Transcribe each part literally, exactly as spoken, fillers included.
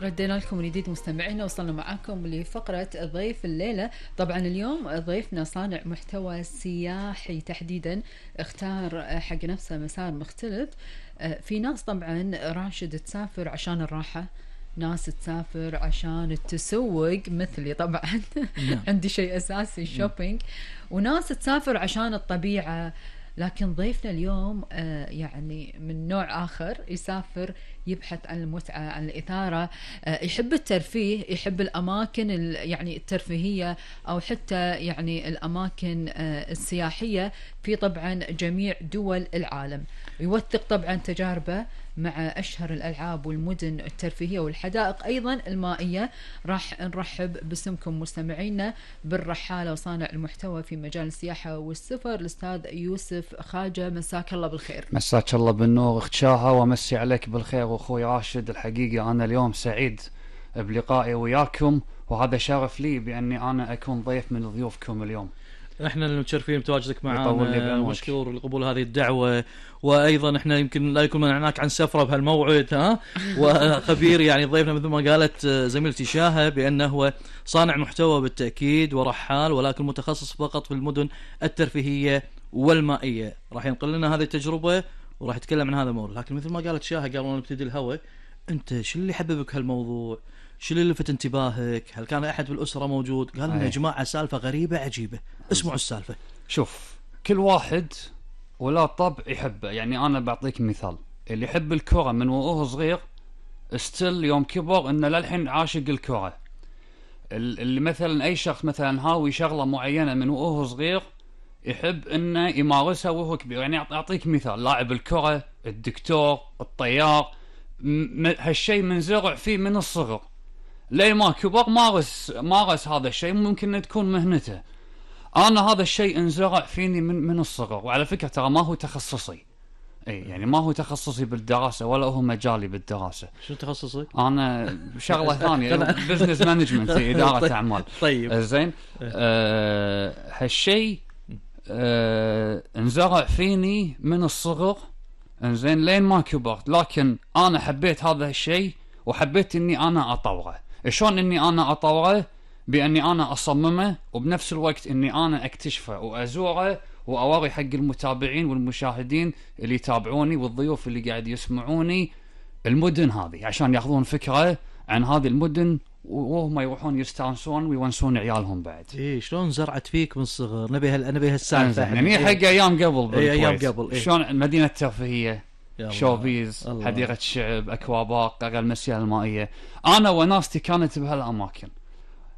ردينا لكم من جديد مستمعينا، وصلنا معاكم لفقرة ضيف الليلة. طبعا اليوم ضيفنا صانع محتوى سياحي تحديدا، اختار حق نفسه مسار مختلف. في ناس طبعا راشد تسافر عشان الراحة، ناس تسافر عشان التسوق مثلي طبعا عندي شيء أساسي الشوبينج، وناس تسافر عشان الطبيعة. لكن ضيفنا اليوم آه يعني من نوع آخر، يسافر يبحث عن المتعة، عن الإثارة، آه يحب الترفيه، يحب الأماكن يعني الترفيهية أو حتى يعني الأماكن آه السياحية في طبعا جميع دول العالم. يوثق طبعا تجاربه مع أشهر الألعاب والمدن الترفيهية والحدائق أيضا المائية. راح نرحب باسمكم مستمعينا بالرحالة وصانع المحتوى في مجال السياحة والسفر، الأستاذ يوسف خاجة. مساك الله بالخير. مساك الله بالنور اخت شاهة، ومسي عليك بالخير واخوي راشد. الحقيقة أنا اليوم سعيد بلقائي وياكم، وهذا شرف لي بأني أنا أكون ضيف من ضيوفكم اليوم. احنا المتشرفين بتواجدك معنا، مشكور لقبول هذه الدعوة، وايضا احنا يمكن لا يكون منعناك عن سفرة بهالموعد ها وخبير يعني ضيفنا مثل ما قالت زميلتي شاهة بانه هو صانع محتوى بالتأكيد ورحال، ولكن متخصص فقط في المدن الترفيهية والمائية. راح ينقل لنا هذه التجربة وراح يتكلم عن هذا الموضوع. لكن مثل ما قالت شاهة قبل ما نبتدي الهوى، انت شو اللي حببك هالموضوع؟ شو اللي لفت انتباهك؟ هل كان أحد بالأسرة موجود قال لنا يا جماعة سالفة غريبة عجيبة؟ اسمعوا السالفة. شوف، كل واحد ولا طبع يحبه. يعني أنا بعطيك مثال، اللي يحب الكرة من وهو صغير استل يوم كبر إنه للحين عاشق الكرة. اللي مثلا أي شخص مثلا هاوي شغلة معينة من وهو صغير يحب إنه يمارسها وهو كبير. يعني أعطيك مثال، لاعب الكرة، الدكتور، الطيار، هالشيء منزرع فيه من الصغر ليه ما كبر مارس مارس هذا الشيء، ممكن تكون مهنته. انا هذا الشيء انزرع فيني من من الصغر. وعلى فكره ترى ما هو تخصصي، اي يعني ما هو تخصصي بالدراسه ولا هو مجالي بالدراسه. شو تخصصك؟ انا شغله ثانيه، بزنس مانجمنت، اداره اعمال. طيب زين. آه هالشيء آه انزرع فيني من الصغر، انزين لين ما كبرت. لكن انا حبيت هذا الشيء وحبيت اني انا اطوره. شلون اني انا اطوره؟ باني انا اصممه، وبنفس الوقت اني انا اكتشفه وازوره واوري حق المتابعين والمشاهدين اللي يتابعوني والضيوف اللي قاعد يسمعوني المدن هذه، عشان ياخذون فكره عن هذه المدن وهم يروحون يستانسون ويونسون عيالهم بعد. ايه شلون زرعت فيك من الصغر؟ نبي هال نبي هالسالفه يعني حق ايام قبل. إيه ايام قبل. إيه؟ شلون مدينه ترفيهيه، شوبيز، حديقة الشعب، أكوابارك، المسيال المائية. أنا وناستي كانت بهالأماكن،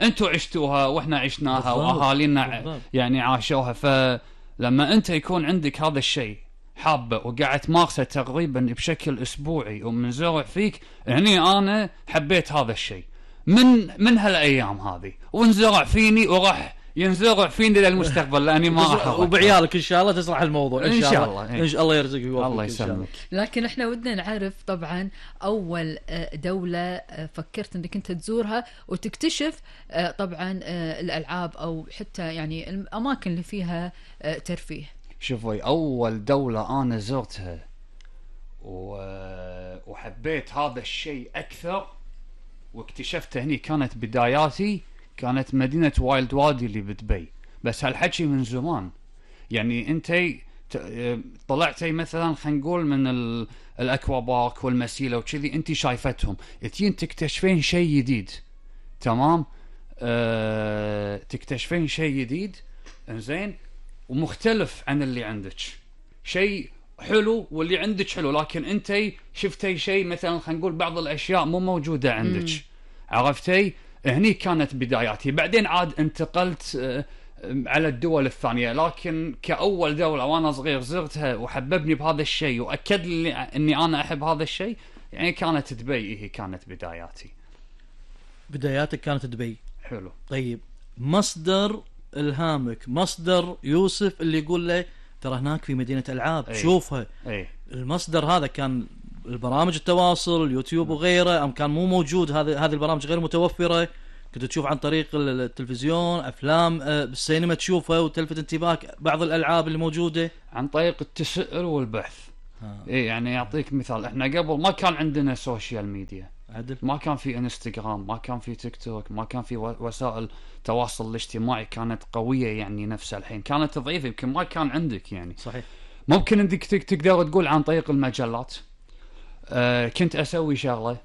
أنتوا عشتوها وإحنا عشناها وأهالينا يعني عاشوها. فلما أنت يكون عندك هذا الشيء حابة وقاعد تمارسه تقريبا بشكل أسبوعي ومن زرع فيك، يعني أنا حبيت هذا الشيء من من هالأيام هذه، وانزرع فيني وراح ينزرع فيني للمستقبل لاني ما راح وبعيالك ان شاء الله تزرع الموضوع ان شاء الله. ان شاء الله يرزقك الله يسلمك. لكن احنا ودنا نعرف طبعا اول دولة فكرت انك انت تزورها وتكتشف طبعا الالعاب او حتى يعني الاماكن اللي فيها ترفيه. شوفي، اول دولة انا زرتها وحبيت هذا الشيء اكثر واكتشفته هني كانت بداياتي، كانت مدينة وايلد وادي اللي بدبي. بس هالحكي من زمان. يعني انتي طلعتي مثلا خلينا نقول من الاكوا بارك والمسيلة وكذي، انتي شايفتهم، تجين تكتشفين شيء جديد. تمام. أه... تكتشفين شيء جديد انزين ومختلف عن اللي عندك، شيء حلو واللي عندك حلو، لكن انتي شفتي شيء مثلا خلينا نقول بعض الاشياء مو موجودة عندك. عرفتي؟ هني كانت بداياتي. بعدين عاد انتقلت على الدول الثانية، لكن كأول دولة وأنا صغير زرتها وحببني بهذا الشيء وأكد لي أني أنا أحب هذا الشيء، يعني كانت دبي. هي كانت بداياتي. بداياتك كانت دبي. حلو. طيب مصدر إلهامك، مصدر يوسف اللي يقول له ترى هناك في مدينة ألعاب. أي. شوفها. أي. المصدر هذا كان البرامج التواصل، اليوتيوب وغيره، أم كان مو موجود؟ هذه هذه البرامج غير متوفرة، كنت تشوف عن طريق التلفزيون، أفلام بالسينما تشوفها وتلفت انتباهك بعض الألعاب اللي موجودة عن طريق التسأل والبحث. إيه يعني يعطيك مثال، إحنا قبل ما كان عندنا سوشيال ميديا. عدل. ما كان في انستغرام، ما كان في تيك توك، ما كان في وسائل التواصل الاجتماعي كانت قوية يعني نفس الحين، كانت ضعيفة، يمكن ما كان عندك يعني. صحيح. ممكن عندك تقدر تقول عن طريق المجلات. أه كنت أسوي شغلة،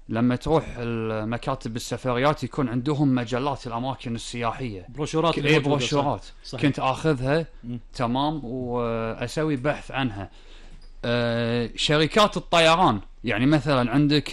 لما تروح المكاتب السفريات يكون عندهم مجلات الأماكن السياحية، بروشورات إيه بروشورات كنت أخذها م. تمام وأسوي بحث عنها. أه شركات الطيران يعني مثلا عندك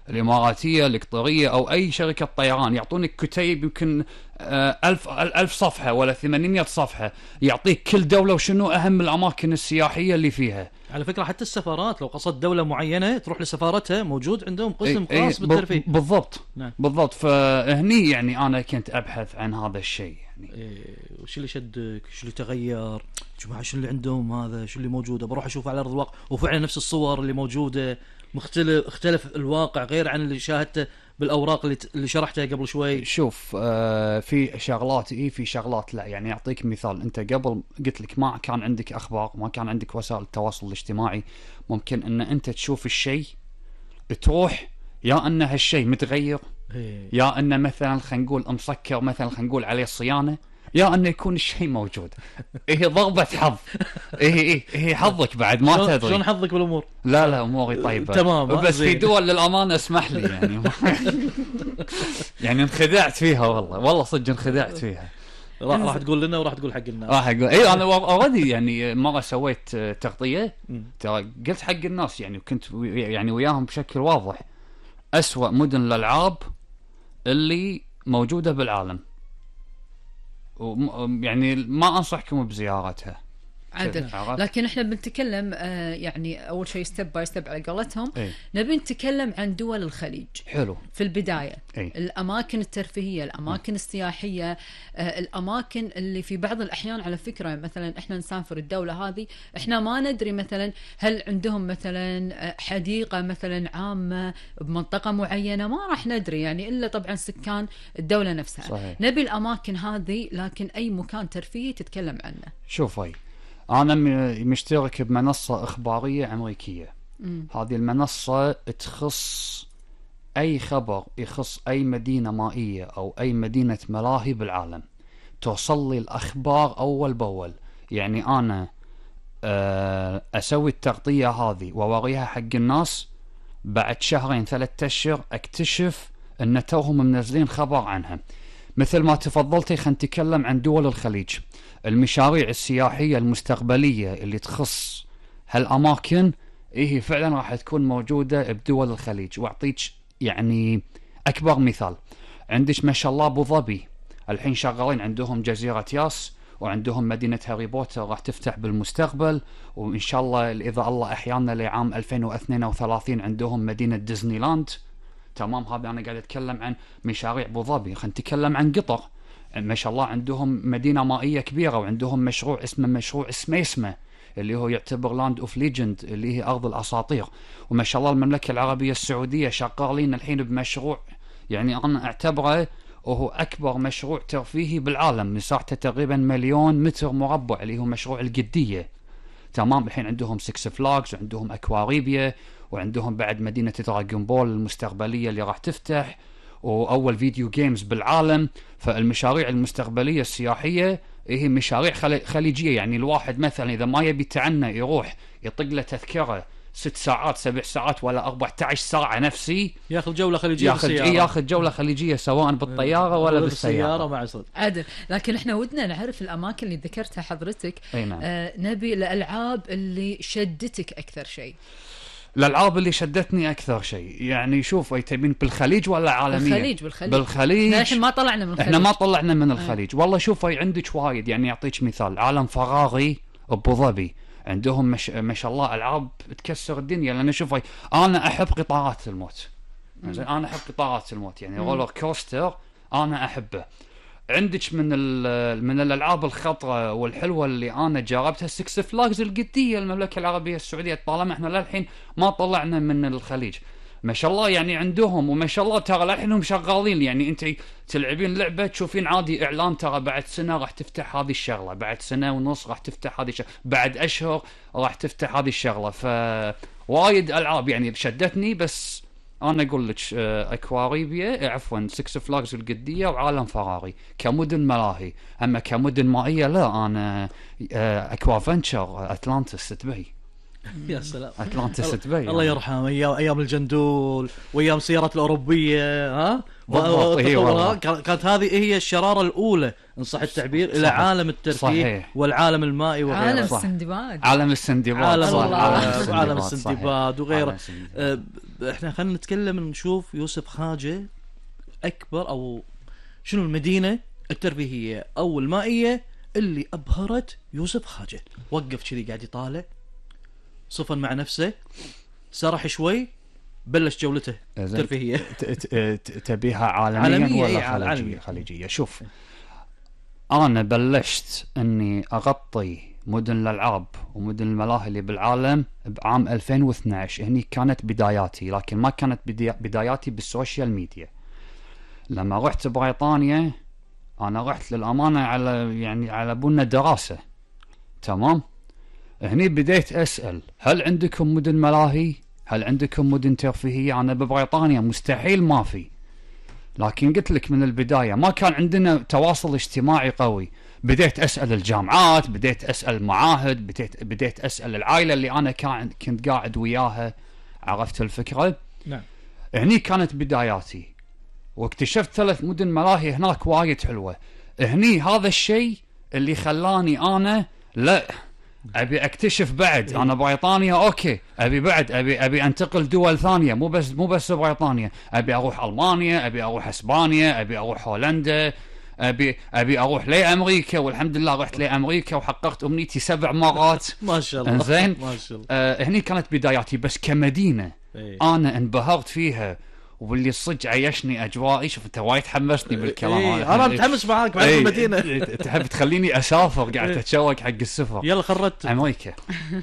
الإماراتية القطرية أو أي شركة طيران يعطونك كتيب يمكن أه ألف ألف صفحة ولا ثمانمائة صفحة، يعطيك كل دولة وشنو أهم الأماكن السياحية اللي فيها. على فكرة حتى السفارات لو قصدت دولة معينة تروح لسفارتها موجود عندهم قسم ايه خاص بالترفيه. بالضبط. نعم. بالضبط. فهني يعني أنا كنت أبحث عن هذا الشيء يعني. إيه وش اللي شدك؟ شو اللي تغير؟ جماعة شو اللي عندهم هذا؟ شو اللي موجودة؟ بروح أشوف على أرض الواقع وفعلا نفس الصور اللي موجودة مختلف اختلف الواقع غير عن اللي شاهدته بالأوراق اللي اللي شرحتها قبل شوي. شوف آه في شغلات إيه في شغلات لا. يعني أعطيك مثال، أنت قبل قلت لك ما كان عندك أخبار، ما كان عندك وسائل التواصل الاجتماعي، ممكن أن أنت تشوف الشيء تروح يا أن هالشيء متغير إيه. يا أن مثلا خلينا نقول مسكر مثلا خلينا نقول عليه صيانة، يا أنه يكون الشيء موجود. إيه ضربة حظ. إيه إيه إيه حظك بعد ما تدري. شلون حظك بالأمور؟ لا لا أموري طيبة تمام. بس في دول للأمانة اسمح لي يعني يعني انخدعت فيها والله والله صدق انخدعت فيها. راح راح تقول لنا وراح تقول حق الناس. راح اقول اي انا اوريدي يعني مرة سويت تغطية ترى قلت حق الناس يعني كنت يعني وياهم بشكل واضح أسوأ مدن الألعاب اللي موجودة بالعالم، يعني ما أنصحكم بزيارتها. عدل. لكن احنا بنتكلم آه يعني اول شيء ستيب باي ستيب على قولتهم. ايه؟ نبي نتكلم عن دول الخليج. حلو. في البدايه ايه؟ الاماكن الترفيهيه، الاماكن م. السياحيه، آه الاماكن اللي في بعض الاحيان على فكره مثلا احنا نسافر الدوله هذه احنا ما ندري مثلا هل عندهم مثلا حديقه مثلا عامه بمنطقه معينه، ما راح ندري يعني الا طبعا سكان الدوله نفسها. صحيح. نبي الاماكن هذه، لكن اي مكان ترفيهي تتكلم عنه. شوف هاي أنا مشترك بمنصة إخبارية أمريكية. م. هذه المنصة تخص أي خبر يخص أي مدينة مائية أو أي مدينة ملاهي بالعالم، توصل لي الأخبار أول بأول. يعني أنا أسوي التغطية هذه ووريها حق الناس، بعد شهرين ثلاثة أشهر أكتشف أن توهم منزلين خبر عنها. مثل ما تفضلتي خلينا نتكلم عن دول الخليج، المشاريع السياحية المستقبلية اللي تخص هالأماكن إيه فعلا راح تكون موجودة بدول الخليج. وأعطيك يعني أكبر مثال، عندك ما شاء الله أبو ظبي الحين شغالين عندهم جزيرة ياس، وعندهم مدينة هاري بوتر راح تفتح بالمستقبل، وإن شاء الله إذا الله أحيانا لعام ألفين واثنين وثلاثين عندهم مدينة ديزني لاند. تمام. هذا أنا قاعد أتكلم عن مشاريع أبو ظبي. خلينا نتكلم عن قطر، ما شاء الله عندهم مدينة مائية كبيرة، وعندهم مشروع اسمه مشروع سميسمة اللي هو يعتبر لاند اوف ليجند اللي هي أرض الأساطير. وما شاء الله المملكة العربية السعودية شغالين الحين بمشروع يعني أنا أعتبره وهو أكبر مشروع ترفيهي بالعالم، مساحته تقريبا مليون متر مربع اللي هو مشروع القدية. تمام. الحين عندهم سكس فلاجز وعندهم أكواريبيا وعندهم بعد مدينة دراغون بول المستقبلية اللي راح تفتح، وأول فيديو جيمز بالعالم. فالمشاريع المستقبلية السياحية هي مشاريع خليجية. يعني الواحد مثلا إذا ما يبي تعنى يروح يطق له تذكرة ست ساعات سبع ساعات ولا أربعة عشر ساعة نفسي، ياخذ جولة خليجية ياخذ ياخذ جولة خليجية سواء بالطيارة ولا بالسيارة مع صوت. عدل. لكن احنا ودنا نعرف الأماكن اللي ذكرتها حضرتك. نعم. آه نبي الألعاب اللي شدتك أكثر شيء. الألعاب اللي شدتني أكثر شيء يعني شوف أي تبين بالخليج ولا عالمية؟ بالخليج. بالخليج. بالخليج. احنا ما طلعنا من الخليج. احنا ما طلعنا من الخليج. والله شوف أي عندك وايد. يعني أعطيك مثال، عالم فراغي أبو ظبي عندهم مش... ما شاء الله ألعاب تكسر الدنيا. لأن شوف أي أنا أحب قطارات الموت. أنا أحب قطارات الموت يعني رولر كوستر أنا أحبه. عندك من من الألعاب الخطرة والحلوة اللي أنا جربتها سكس فلاجز القدية المملكة العربية السعودية، طالما إحنا للحين ما طلعنا من الخليج. ما شاء الله يعني عندهم وما شاء الله ترى للحين هم شغالين. يعني أنت تلعبين لعبة تشوفين عادي إعلان ترى بعد سنة راح تفتح هذه الشغلة، بعد سنة ونص راح تفتح هذه الشغلة، بعد أشهر راح تفتح هذه الشغلة. فوايد ألعاب يعني شدتني، بس انا اقول لك آه، اكواريبيا عفوا سكس فلاجز القديه وعالم فراري كمدن ملاهي. اما كمدن مائيه لا، انا آه، اكوا فنتشر اتلانتس دبي. يا سلام اتلانتس دبي الله يعني. يرحمه، ايام ايام الجندول وايام السيارات الاوروبيه ها بالضبط، إي والله. كانت هذه هي الشراره الاولى ان صح التعبير الى صحيح. عالم الترفيه صحيح. والعالم المائي وغيره. عالم صح. السندباد. عالم السندباد عالم صح. الله. عالم عالم السندباد السندباد وغيره. عالم السندباد. آه، احنا خلينا نتكلم نشوف يوسف خاجه اكبر او شنو المدينه الترفيهيه او المائيه اللي ابهرت يوسف خاجه. وقف كذي قاعد يطالع، صفن مع نفسه، سرح شوي، بلش جولته الترفيهيه. ت- ت- ت- تبيها عالميا عالمية، ولا إيه، خليجية؟ عالمية. خليجية. شوف، انا بلشت اني اغطي مدن الالعاب ومدن الملاهي اللي بالعالم بعام ألفين واثناشر. هني كانت بداياتي، لكن ما كانت بدي- بداياتي بالسوشيال ميديا. لما رحت بريطانيا انا رحت للامانه على يعني على بنا دراسه، تمام. هني بديت اسال هل عندكم مدن ملاهي؟ هل عندكم مدن ترفيهيه؟ انا ببريطانيا مستحيل ما في. لكن قلت لك من البدايه ما كان عندنا تواصل اجتماعي قوي. بديت اسال الجامعات، بديت اسال معاهد، بديت بديت اسال العائله اللي انا كان كنت قاعد وياها. عرفت الفكره؟ نعم. هني كانت بداياتي، واكتشفت ثلاث مدن ملاهي هناك وايد حلوه. هني هذا الشيء اللي خلاني انا لا ابي اكتشف بعد. انا بريطانيا اوكي، ابي بعد ابي ابي انتقل دول ثانيه، مو بس مو بس بريطانيا. ابي اروح المانيا، ابي اروح اسبانيا، ابي اروح هولندا، ابي ابي اروح لامريكا. والحمد لله رحت لامريكا وحققت امنيتي سبع مرات. ما شاء الله. انزين. ما شاء الله. آه هني كانت بداياتي. بس كمدينه إيه. انا انبهرت فيها، واللي صدق عيشني اجوائي. شوف انت وايد حمسني بالكلام. إيه. انا متحمس معاك مع إيه. المدينه. تحب تخليني اسافر، قاعد إيه. اتشوق حق السفر. يلا خرجت امريكا.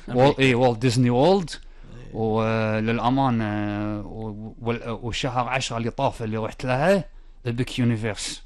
وول اي والت ديزني وولد. وللامانه وشهر عشرة اللي طاف اللي رحت لها بيك يونيفرس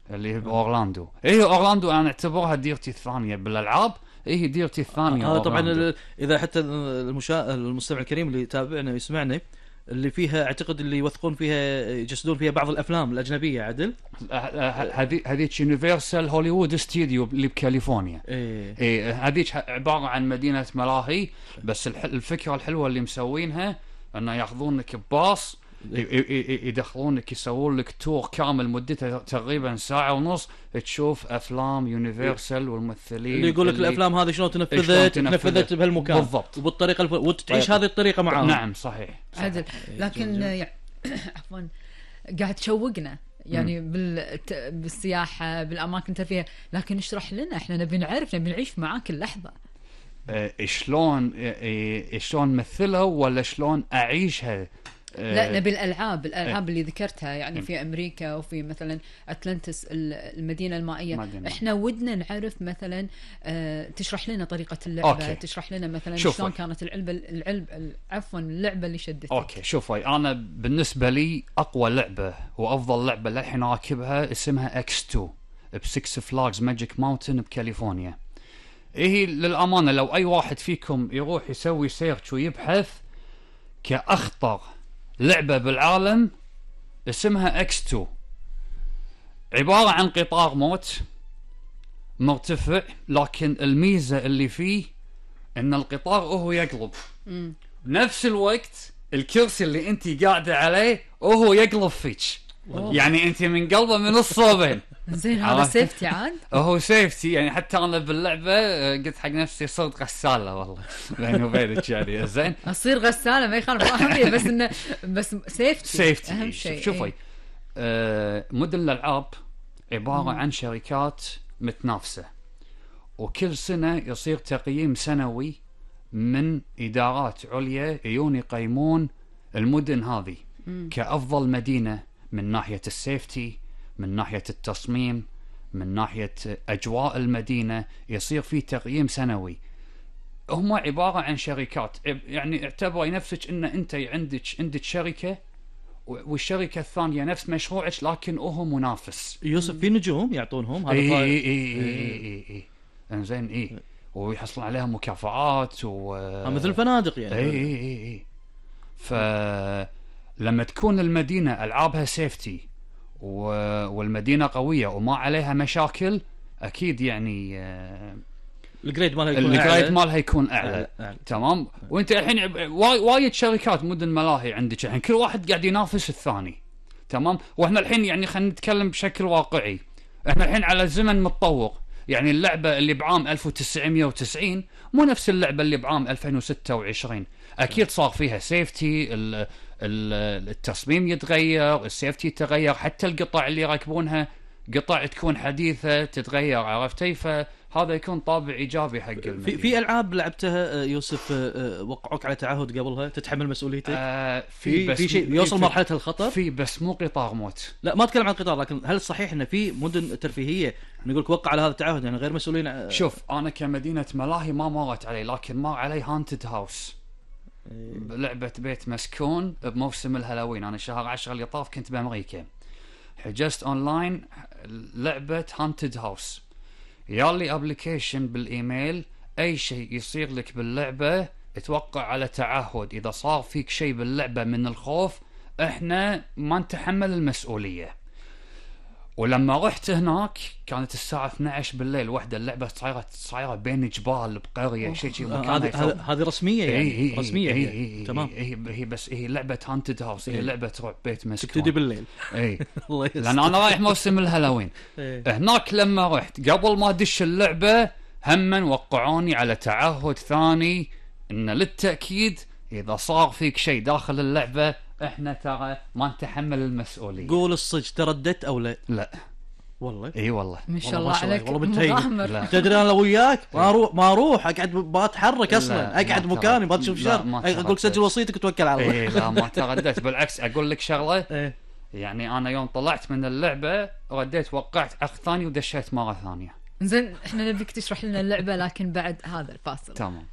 اللي هي باورلاندو. اي اورلاندو انا اعتبرها ديرتي الثانيه بالالعاب. اي ديرتي الثانيه. هذا طبعا أورلاندو. ال- اذا حتى المشا... المستمع الكريم اللي يتابعنا ويسمعنا اللي فيها اعتقد اللي يوثقون فيها يجسدون فيها بعض الافلام الاجنبيه عدل. هذه هذيك يونيفرسال هوليوود ستوديو اللي بكاليفورنيا. ايه ايه هذيك عباره عن مدينه ملاهي. بس الح- الفكره الحلوه اللي مسوينها انه ياخذونك بباص، ي- ي- يدخلونك يسوون لك تور كامل مدته تقريبا ساعه ونص، تشوف افلام يونيفرسال والممثلين اللي يقول لك الافلام هذه شلون تنفذت شلون تنفذت تنفذت. بهالمكان بالضبط. وبالطريقه الف... وتعيش طيب. هذه الطريقه معاهم. نعم صحيح, صحيح. عدل. لكن يع- عفوا قاعد تشوقنا يعني بالت... بالسياحه بالاماكن الترفيه، لكن اشرح لنا، احنا نبي نعرف، نبي نعيش معاك اللحظه. آه، شلون آه، شلون مثلها ولا شلون اعيشها؟ آه، لا نبي الالعاب الالعاب اللي ذكرتها يعني في امريكا وفي مثلا اتلانتس المدينه المائيه. مدينة. احنا ودنا نعرف مثلا آه تشرح لنا طريقه اللعبه. أوكي. تشرح لنا مثلا شوف شلون وي. كانت العلبه العلب عفوا اللعبه اللي شدتك. اوكي شوفي، انا بالنسبه لي اقوى لعبه وافضل لعبه للحين راكبها اسمها اكس تو بسكس فلاجز ماجيك ماونتن بكاليفورنيا. ايه للامانه لو اي واحد فيكم يروح يسوي سيرش ويبحث كاخطر لعبه بالعالم اسمها اكس تو. عباره عن قطار موت مرتفع، لكن الميزه اللي فيه ان القطار وهو يقلب مم. بنفس الوقت الكرسي اللي انت قاعده عليه وهو يقلب فيك. يعني انت من قلبه من الصوبين. زين هذا عرفت؟ سيفتي عاد. هو سيفتي يعني. حتى انا باللعبه آه، قلت حق نفسي صرت غساله والله بيني وبينك يعني. زين اصير غساله ما يخالف اهميه، بس انه بس سيفتي سيفتي اهم إيه. شيء. شوفي إيه. آه مدن الالعاب عباره عن شركات متنافسه، وكل سنه يصير تقييم سنوي من ادارات عليا يجون يقيمون المدن هذه كافضل مدينه من ناحيه السيفتي، من ناحيه التصميم، من ناحيه اجواء المدينه. يصير في تقييم سنوي. هم عباره عن شركات، يعني اعتبري نفسك ان انت عندك عندك شركه والشركه الثانيه نفس مشروعك لكن هو منافس. يوسف في نجوم يعطونهم هذا. اي فا- اي اي اي اي انزين اي ويحصلون عليها مكافآت و آه، مثل الفنادق يعني. اي اي اي اي ف لما تكون المدينة ألعابها سيفتي و... والمدينة قوية وما عليها مشاكل، أكيد يعني آه الجريد مالها يكون الجريد أعلى. مالها يكون أعلى, أعلى. أعلى. تمام. وانت الحين واي... وايد شركات مدن ملاهي عندك الحين، كل واحد قاعد ينافس الثاني. تمام. واحنا الحين يعني خلينا نتكلم بشكل واقعي، احنا الحين على زمن متطور. يعني اللعبة اللي بعام ألف وتسعمية وتسعين مو نفس اللعبة اللي بعام ألفين وستة وعشرين. أكيد صار فيها سيفتي، التصميم يتغير، السيفتي يتغير، حتى القطع اللي يركبونها قطع تكون حديثة تتغير، عرفتي؟ فهذا يكون طابع إيجابي حق المدينة. في في ألعاب لعبتها يوسف وقعوك على تعهد قبلها تتحمل مسؤوليتك؟ آه في في, في شيء يوصل في مرحلة الخطر؟ في بس مو قطار موت. لا ما أتكلم عن قطار، لكن هل صحيح إن في مدن ترفيهية نقولك وقع على هذا التعهد يعني غير مسؤولين؟ شوف أنا كمدينة ملاهي ما مرت علي، لكن مر علي هانتد هاوس، لعبة بيت مسكون بموسم الهالوين. أنا شهر عشرة اللي طاف كنت بأمريكا، حجزت أونلاين لعبة هانتد هاوس، يالي أبليكيشن بالإيميل، أي شيء يصير لك باللعبة اتوقع على تعهد، إذا صار فيك شيء باللعبة من الخوف إحنا ما نتحمل المسؤولية. ولما رحت هناك كانت الساعة اثنتي عشرة بالليل وحدة، اللعبة صايرة صايرة بين جبال بقرية شيء شيء هذه هذه رسمية يعني إيه رسمية إيه يعني. إيه تمام. هي هي بس هي لعبة هانتد هاوس، هي لعبة رعب بيت مسكون تبتدي بالليل. اي الله يستر. لأن أنا رايح موسم الهالوين. هناك لما رحت قبل ما أدش اللعبة هم وقعوني على تعهد ثاني إن للتأكيد إذا صار فيك شيء داخل اللعبة إحنا ترى ما نتحمل المسؤولية. قول الصج، ترددت أو لا؟ لا والله. اي والله ما شاء الله عليك مغامر. تدري انا لو وياك ما اروح ما اروح اقعد بتحرك اصلا، اقعد مكاني ما تشوف شر، اقول سجل وصيتك وتوكل على الله. اي لا ما ترددت، بالعكس اقول لك شغله. يعني انا يوم طلعت من اللعبه رديت وقعت اخ ثاني ودشيت مره ثانيه. زين احنا نبيك تشرح لنا اللعبه لكن بعد هذا الفاصل. تمام.